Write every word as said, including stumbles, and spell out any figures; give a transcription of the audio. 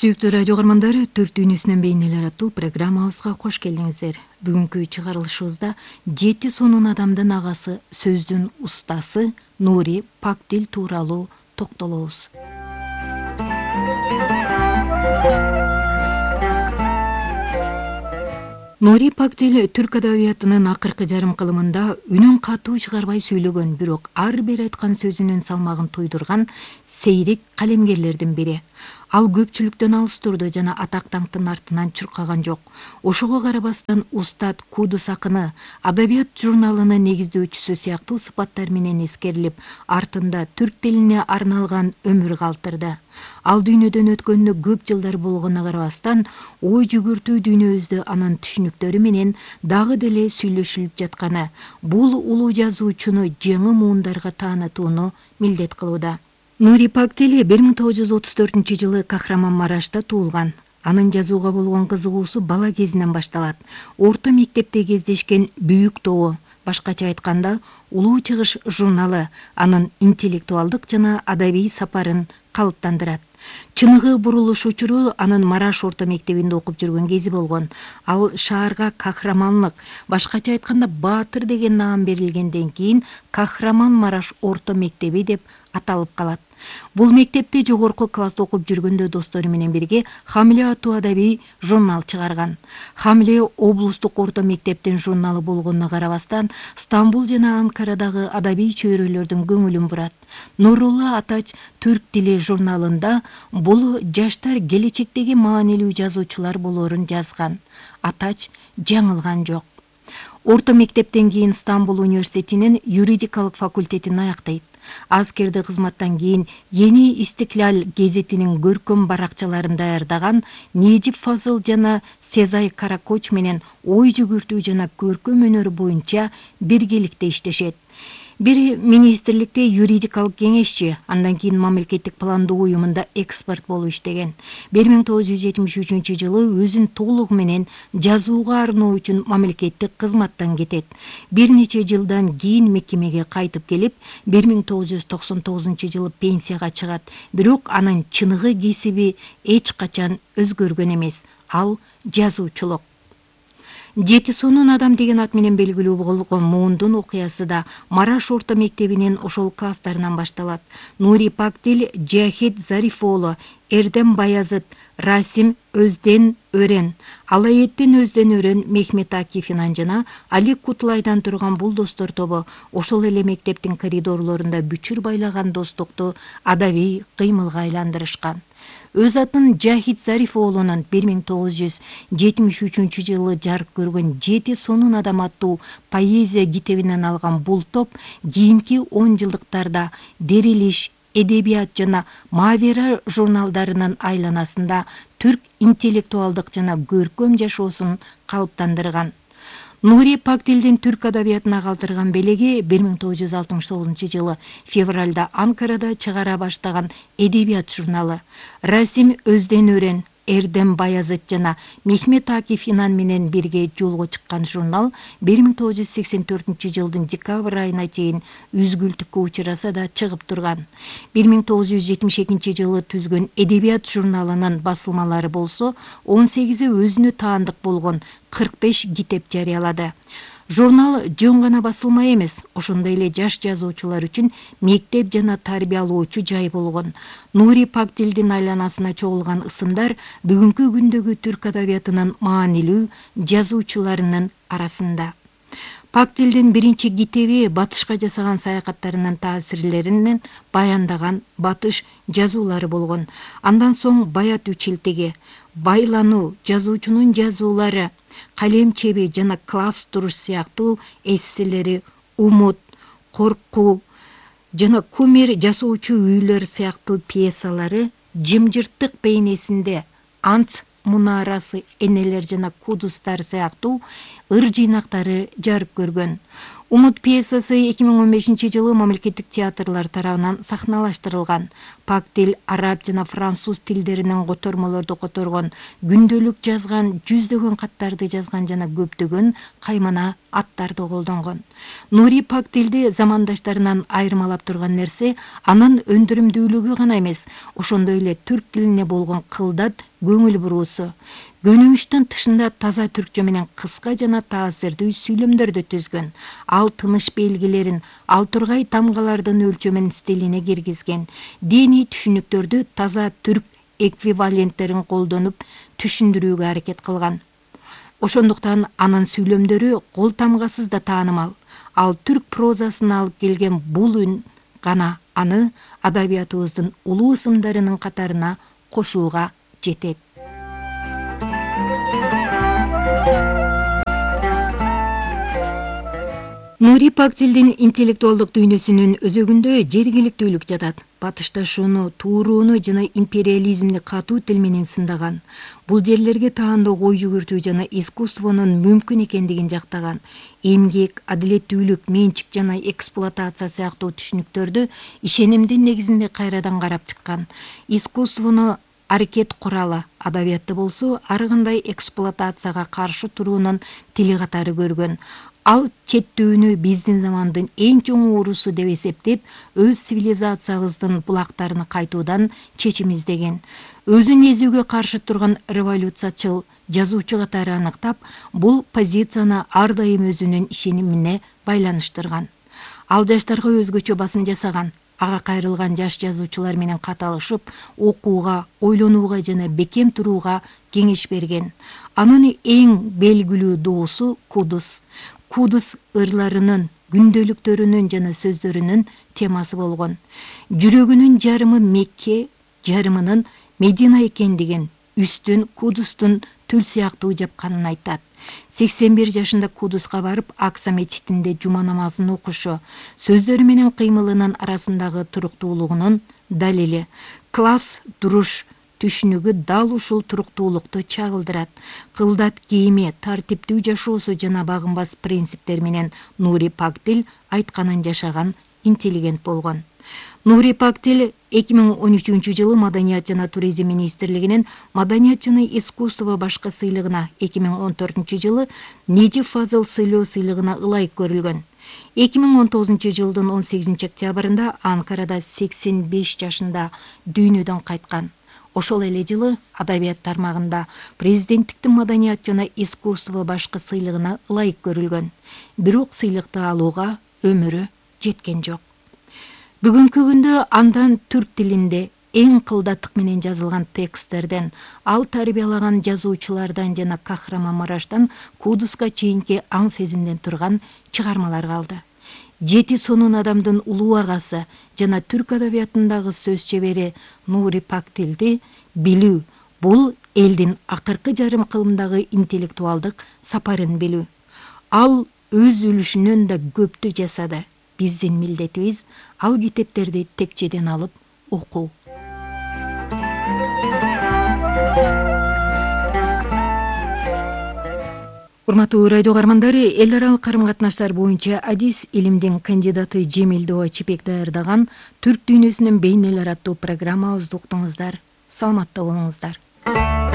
Сүйүктүү радио каармандары, Түрк дүйнөсүнөн бейнелер аттуу программабызга кош келдиңиздер. Бүгүнкү чыгарылышыбызда жети сонун адамдын агасы, сөздүн устасы Нури Пактил тууралуу токтолобуз. Нури Пактил түрк адабиятынын акыркы жарым кылымында үнүн катуу чыгарбай сүйлөгөн, бирок ар бир айткан сөзүнүн салмагын туйдурган сейрек калемгерлердин бири. Ал көпчүлүктөн алыс турду жана атак даңктын артынан чуркаган жок. Ошого карабастан Устат Кудус акыны адабият журналынын негиздөөчүсү сыяктуу сыпаттар менен эскерилип, артында түрк тилине арналган өмүр калтырды. Ал дүйнөдөн өткөнүнө көп жылдар болгонуна карабастан, ой жүгүртүү дүйнөбүздө анын түшүнүктөрү менен дагы деле сүйлөшүлүп жатканы бул улуу жазуучуну жаңы муундарга таанытууну милдет кылууда. Нури Пактил бир миң тогуз жүз отуз төртүнчү жылы Кахраманмарашта туулган. Анын жазууга болгон кызыгуусу бала кезинен башталат. Орто мектепте кездешкен Büyük Doğu, башкача айтканда Улуу Чыгыш журналы анын интеллектуалдык жана адабий сапарын калыптандырат. Чыныгы бурулуш учуру анын Мараш орто мектебинде окуп жүргөн кези болгон. Ал шаарга Кахраманлык, башкача айтканда Баатыр деген наам берилгенден кийин Кахраманмараш орто мектеби деп аталып калат. Бул мектепте жогорку класста окуп жүргөндө достору менен бирге Хамле аттуу адабий журнал чыгарган. Хамле облустук орто мектептин журналы болгонуна карабастан, Стамбул жана Анкарадагы адабий чөйрөлөрдүн көңүлүн бурат. Нурулла Атач түрк тили журналында бул жаштар келечектеги маанилүү жазуучулар болоорун жазган. Атач жаңылган жок. Орто мектептен кийин Стамбул университетинин юридикалык факультетин аяктайт. Аскерди кызматтан кийин Yeni İstiklal гезетинин көркөм баракчаларын даярдаган Necip Fazıl жана Сезай Каракоч менен ой жүгүртүү жана көркөм өнөр боюнча биргеликте иштешет. Бири министрликте юридикалык кеңешчи, андан кийин мамлекеттик пландоо уюмунда эксперт болуп иштеген. бир миң тогуз жүз жетимиш үчүнчү жылы өзүн толугу менен жазууга арноо үчүн мамлекеттик кызматтан кетет. Бир нече жылдан кийин мекемеге кайтып келип, бир миң тогуз жүз токсон тогузунчу жылы пенсияга чыгат. Бирок анын чыныгы кесиби эч качан өзгөргөн эмес. Ал жазуучулук. Жети сонун адам деген ат менен белгилүү болгон муундун окуясы да Мараш орто мектебинин ошол класстарынан башталат. Нури Пактил, Жахит Зарифоолу, Эрдем Баязыт, Расим Өзден Өрен, Алаеттин Өзден Өрен Мехмет Акифинан жана Али Кутлайдан турган бул достор тобу ошол эле мектептин коридорлорунда бүчүр байлаган достукту адабий кыймылга айландырышкан. Өз атын Жахит Зарифоолунун бир миң тогуз жүз жетимиш үчүнчү жылы жарык көргөн жети сонун адам аттуу поэзия китебинен алган бул топ кийинки он жылдыктарда Дерилиш, Эдебият жана Мавера журналдарынын айланасында түрк интеллектуалдык жана көркөм жашоосун калыптандырган. Нури Пактилдин түрк адабиятына калтырган белеги бир миң тогуз жүз алтымыш тогузунчу жылы февралда Анкарада чыгара баштаган Эдебият журналы. Расим Өзден Өрен, Эрдем Баязыт жана Мехмет Акифинан менен бирге жолго чыккан журнал бир миң тогуз жүз сексен төртүнчү жылдын декабрь айына чейин үзгүлтүккө учураса да чыгып турган. бир миң тогуз жүз жетимиш экинчи жылы түзгөн Эдебият журналынын басылмалары болсо он сегизи өзүнө таандык болгон кырк беш китеп жарыялады. Журнал жөн гана басылма эмес, ошондой эле жаш жазуучулар үчүн мектеп жана тарбиялоочу жай болгон. Нури Пактилдин айланасына чогулган ысымдар бүгүнкү күндөгү түрк адабиятынын маанилүү жазуучуларынын арасында. Пактилдин биринчи китеби батышка жасаган саякаттарынын таасирлеринен баяндаган батыш жазуулары болгон. Андан соң Баят үчилтеги, Байлануу, жазуучунун жазуулары, Калем чеби жана Класс туруш сыяктуу эсселери, Умут, Коркуу жана Кумер жасоочу үйлөр сыяктуу пьесалары, Жымжырттык бейнесинде Ант мунарасы, Энелер жана Кудустар сыяктуу ыр жыйнактары жарык көргөн. Умут пьесасы эки миң он бешинчи жылы мамлекеттик театрлар тарабынан сахналаштырылган. Пак тил араб жана француз тилдеринен котормолорду которгон, күндөлүк жазган, жүздөгөн каттарды жазган жана көптөгөн каймана аттарды колдонгон. Нури Пак тилди замандаштарынан айырмалап турган нерсе анын өндүрүмдүүлүгү гана эмес, ошондой эле түрк тилине болгон кылдат, көңүл буруусу. Көнүгүштүн тышында таза түркчө менен кыска жана таасирдүү сүйлөмдөрдү түзгөн. Ал тыныш белгилерин, ал тургай тамгалардын өлчөмүн стилине киргизген. Диний түшүнүктөрдү таза түрк эквиваленттерин колдонуп түшүндүрүүгө аракет кылган. Ошондуктан анын сүйлөмдөрү кол тамгасыз да таанымал. Ал түрк прозасына алып келген бул үн гана аны адабиятыбыздын улуу ысымдарынын катарына кошууга жетет. Нури Пак тилдин интеллектуалдык дүйнөсүнүн өзөгүндө жергиликтүүлүк жатат. Батышташууну, туурууну жана империализмди катуу тил менен сындаган. Бул жерлерге таандоо ой жүгүртүү жана искусствонун мүмкүн экендигин жактаган. Эмгек, адилеттүүлүк, менчик жана эксплуатация сыяктуу түшүнүктөрдү ишенимдин негизинде кайрадан карап чыккан. Искусствону аракет куралы, адабиятты болсо ар кандай эксплуатацияга каршы туруунун тили катары көргөн. Ал четтүүнү биздин замандын эң чоң оорусу деп эсептеп, өз цивилизациябыздын булактарына кайтуудан чечим издеген. Өзүн эзүүгө каршы турган революциячыл жазуучу катары аныктап, бул позицияны ар дайым өзүнүн ишенимине байланыштырган. Ал жаштарга өзгөчө басым жасаган. Ага кайрылган жаш жазуучулар менен кат алышып, окууга, ойлонууга жана бекем турууга кеңеш берген. Анын эң белгилүү доосу Кудус. Кудус ырларынын, күндөлүктөрүнүн жана сөздөрүнүн темасы болгон. Жүрөгүнүн жарымы Мекке, жарымынын Медина экендигин, үстүн Кудустун түл сыяктуу жапканын айтат. сексен бир жашында Кудуска барып, Акса мечитинде жума намазын окушу, сөздөрү менен кыймылынын арасындагы туруктуулугунун далили. Класс, туруш түшүнүгү дал ушул туруктуулукту чагылдырат. Кылдат кийими, тартиптүү жашоосу жана багынбас принциптер менен Нури Пак тил айтканын жашаган интеллигент болгон. Нури Пак тил эки миң он үчүнчү жылы Маданият жана туризм министрлигинин Маданият жана искусство башкы сыйлыгына, эки миң он төртүнчү жылы Нежип Фазыл сыйлоо сыйлыгына ылайык көрүлгөн. эки миң он тогузунчу жылдын он сегизинчи октябрында Анкарада сексен беш жашында дүйнөдөн кайткан. Ошол эле жылы адабият тармагында президенттиктин Маданият жана искусство башкы сыйлыгына ылайык көрүлгөн. Бирок сыйлыкты алууга өмүрү жеткен жок. Бүгүнкү күндө андан түрк тилинде эң кылдаттык менен жазылган тексттерден, ал тарбиялаган жазуучулардан жана Кахраманмараштан Кудуска чейинки аң сезимден турган чыгармалар калды. Жети сонун адамдын улуу агасы жана түрк адабиятындагы сөз чебери Нури Пак тилди билүү, бул элдин акыркы жарым кылымдагы интеллектуалдык сапарын билүү. Ал өз үлүшүнөн да көптү жасады. Биздин милдетибиз ал китептерди текчеден алып окуу. Урматтуу радио каармандары, эл аралык карым-катнаштар боюнча адис илимдин кандидаты Жемил Доа Чипек даярдаган Түрк дүйнөсүнүн бейнелер аттуу программабызды уктуңуздар. Саламатта болуңуздар.